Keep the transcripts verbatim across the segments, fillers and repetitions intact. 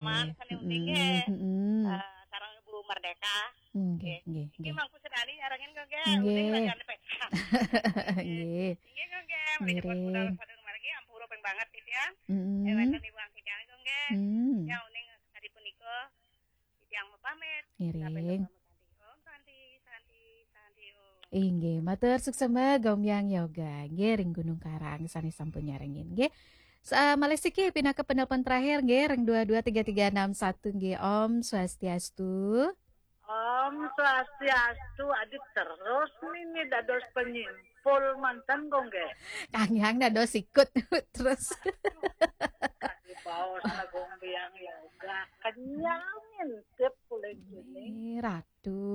Mas, sane uning, nggih. Mm-mm. Eh, sareng Ibu Merdeka. Nggih, nggih, nggih. Mangku sedali nyarengin kok, nggih. Nggih. Uning lagi anu pesta. Nggih. Nggih, kok, nggih. Menawi pun budal sadurung margi, ampura ping banget, titiang. Mm-mm. Eh, wenten Ibu Angkijang, kok, nggih. Mm. Ya, uning tadi punika, titiang mau pamit. Ngiring. Sampai ketemu tadi. Om Santi, Santi, Santi, Om. Inggih, matur suksema Gombyang Yoga. Nggih, ring Gunung Karang sane sampun nyarengin, nggih. Sa-, malih siki pinaka penelpon terakhir, nggih, ring dua dua tiga tiga enam satu, nggih. Om Swastiastu. Om Swastiastu, adi terus nini dados penyimpul manten, kok, nggih. Kang Hyang dados sikut terus. Kadi baos Gombyang Yoga, kenyang ngintip kula kene. Eh, Ratu.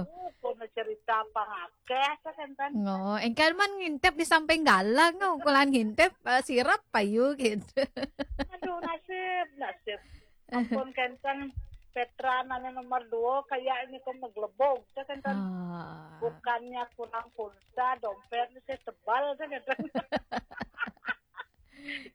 Oh, kono cerita pangakeh, sakenten. Ngo, engkén man ngintip di samping galang, ngo, kulan ngintip, eh, sirep payu gitu. Aduh, nasib, nasib. Ampun, kenten Petra nanya nomor dua, kayak ini kok meglebog, sakenten. Ah. Bukannya kurang pulsa, dompetnya saya tebal, sakenten.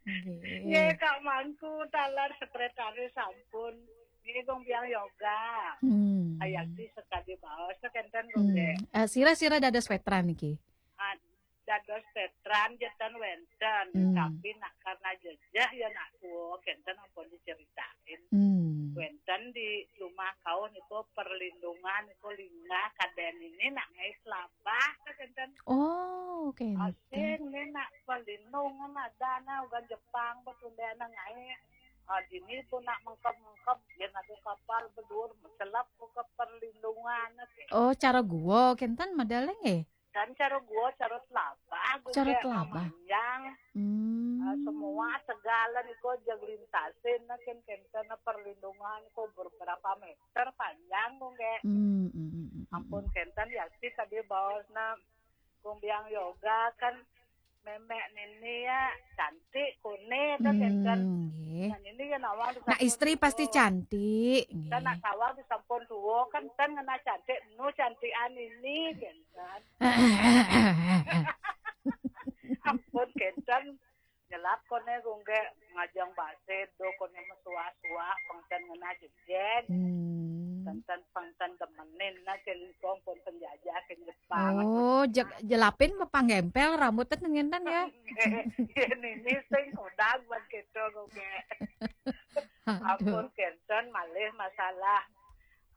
Nggih. Nggih, Kak Mangku, taler sekretaris sampun. Nggih, Gombyang Yoga. Hmm. Ayakti sekadi baos, kenten, hmm, nggih. Eh, sira-sira dados veteran niki? Ah, dados veteran jeten wenten, hmm, tapi nak karena jejeh ya nak tuwa, kenten ampun diceritain. Hmm. Wenten di rumah kau niku perlindungan niku linggah kaden ini nak ngai selabah, kenten. Oh, oke. Asing ni nak pelindung, nak dana ugan Jepang, betunda nang ai. Ah, dini pun nak mengkep-mengkep, dia nak kapal bedur, selap ke perlindungan. Oh, cara gua, kenten modalnya nggih? Dan cara gua, cara telabah, gua cara kayak telabah. Memanjang. Hmm. Ah, semua segala niku jag lintasin, nah, ken-, kenten perlindungan niku beberapa meter panjang, gua kayak. Hmm, hmm, hmm, hmm, hmm. Ampun, kenten ya sih tadi baosna Gombyang Yoga kan memek nini ya cantik kone, kan, hmm, kan. Nggih. Nah, nini ya nawang. Nah, istri pasti cantik, nggih. Kan nak nawang disampun tuwa, kan, kan ngena cantik, nu cantikan ini, kan. Ampun, kenten nyelap kone, gongge ngajeng base do kone mesuah-suah, pengten ngena jejen. Hmm. Pengten, pengten demenin, nah, ken kong pun penjajah, ken Jepang. Oh, je-, jelapin mepanggempel rambutnya ngenten ya? Iya, nini sing kodang buat gitu, gongge. Aduh. Ampun, kenten malih masalah.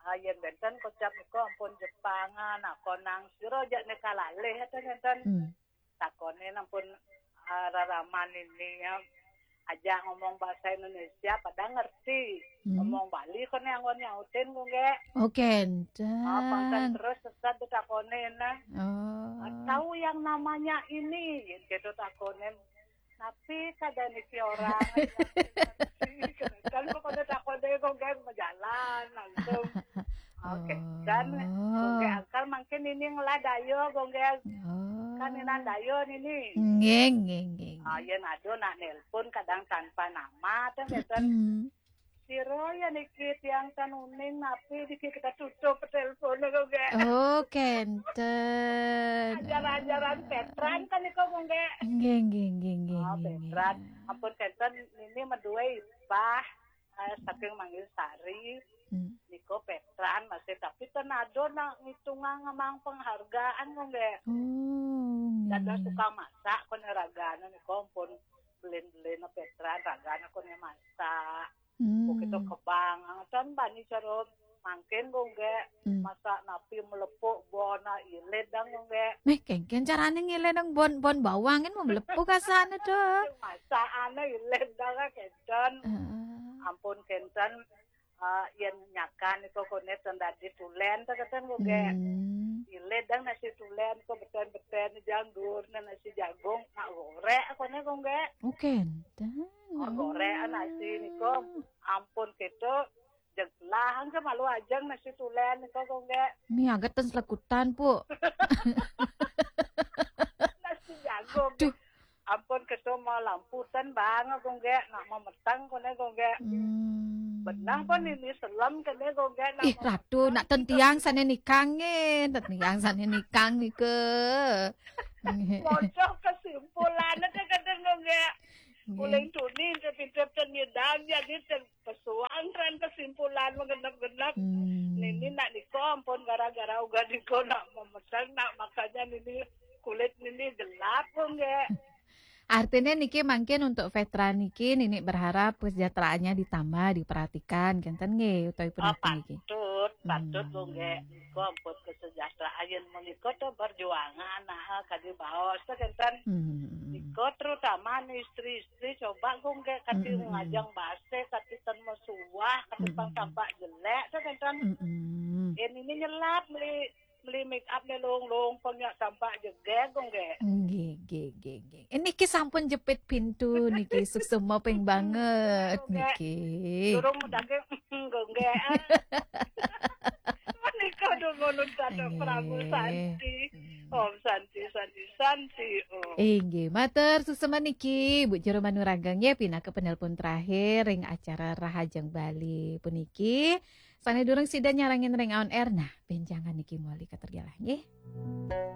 Ah, yen benten kocap niku ampun Jepangan, nah, konang sira jak nika lalih, enten ngenten. Hmm. Takone nampun, ah, raraman ini ya, aja ngomong bahasa Indonesia, pada ngerti. Hmm. Ngomong Bali kone anggon nyautin, gongge. Oh, kenten. Ah, pangkat terus sesat ditakone, nah. Oh. Ah, tahu yang namanya ini, gitu takone. Tapi kada niki orang. Kan pokoknya takone, gongge, berjalan langsung. Oke, dan, oh, gongge akal mungkin ini ngelah dayo, gongge. Oh. Kan inan dayo nini. Nggih, nggih, nggih, nggih. Ah, yen ada nak nelpon kadang tanpa nama, tuh, ngeten. Mm-mm. Sira ya niki tiang tan uning, napi niki kita tutup telepon, gongge. Oh, kenten. Ajaran-ajaran Petran kan niku, gongge. Nggih, nggih, nggih, nggih, ah, nggih, nggih. Petran. Ampun, kenten, ini meduwe ipah, eh, saking Manggil Sari. Hmm. Niku Petran masih, tapi ten ada nak ngitungang ngemang penghargaan, gongge. Oh, nggih. Dados tukang masak kone ragane niku ampun belin-belin Petran, ragane kone masak. Hmm. Begitu kebang, kan bani cara mangkin, gongge. Hmm. Masak napi melepuk bona ilit dang, gongge. Meh, kengken carane ngilidang bon, bon bawang kan mau melepuk asane to. Masak ane ilit dang, kenten. Heeh. Ampun, kenten. Ah, yen nyakan niku kone ten dadi tulen, to kenten, gongge. Hmm. Ilit dang nasi tulen, ko beten-beten janggur, nasi jagung, nak gorek kone, gongge. Oh, kenten. Oh, gorek nasi niku. Ampun, gitu. Jeglah, angke malu ajeng nasi tulen niku, gongge. Mi aget ten selekutan, Pu. Nasi jagung. Aduh. Ampun, keto mau lampu ten bang, gongge, nak memeteng kone, gongge. Hmm. Benang pun ini selem kene, gongge, nak. Ih, memeteng. Ratu, nak ten tiang sane nikang, eh, ten tiang sane nikang nike. Pocok kesimpulannya, kenten, gongge. Kuling tuni, pinter-pinter nyidang, jadi ter-, pesuang kan kesimpulan menggenep-genep. Hmm. Nini nak niko ampun gara-gara uga niko nak memesan, nak makanya nini kulit nini gelap, Gung, nggih. Artinya niki mangkin untuk veteran niki, nini berharap kesejahteraannya ditambah, diperhatikan, kenten nggih, utawi Ah, punapa niki? Patut, patut, Gung, nggih. Hmm. Niko ampun kesejahteraan, yen menika to perjuangan, nah, kadi baos to, kenten. Hmm. Niko terutama istri-istri coba, Gung, nggih, kati Hmm, hmm, hmm. ngajeng base, kati ten mesuah, kati Hmm, pang hmm, hmm. tampak jelek to, kenten. Hmm, hmm. Yen ini nyelap meli, meli make up ne long-long, pang nyak tampak jegeg, Gung, nggih. Nggih, nggih, nggih, nggih. Eh, niki sampun jepit pintu niki, suksma ping banget Gung, nggih. Niki. Durung medake, Gung, nggih. Ah. Menika dumunung dados Nggih. Pramu Santi. Hmm. Om Santi, Santi, Santi, Om. Inggih, matur suksma niki, Bu Jero Manurageng ya, pinaka penelpon terakhir ring acara Rahajeng Bali puniki. Sane durung sida nyarengin ring on air, nah, benjangan niki mawali katergelah nggih.